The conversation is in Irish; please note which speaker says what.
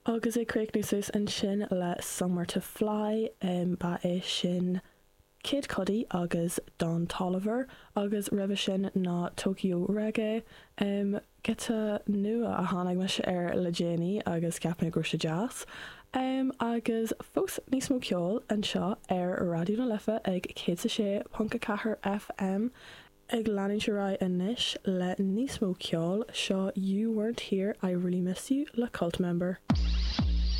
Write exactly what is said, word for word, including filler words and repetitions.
Speaker 1: Agus ag críochnú suas ansin le Somewhere to Fly um, ba é sin Kid Cudi agus Don Toliver agus roimhe sin ná Tokyo Reggae um, giota nua a tháinig mise air le déanaí agus cheap mé go raibh sé deas. Um, agus fós níos mó ceoil anseo ar Raidió na Life ag céad a sé ponc a ceathair FM ag leanúint ar aghaidh anois le níos mó ceoil seo You Weren't Here I Really Miss You le Cult Member.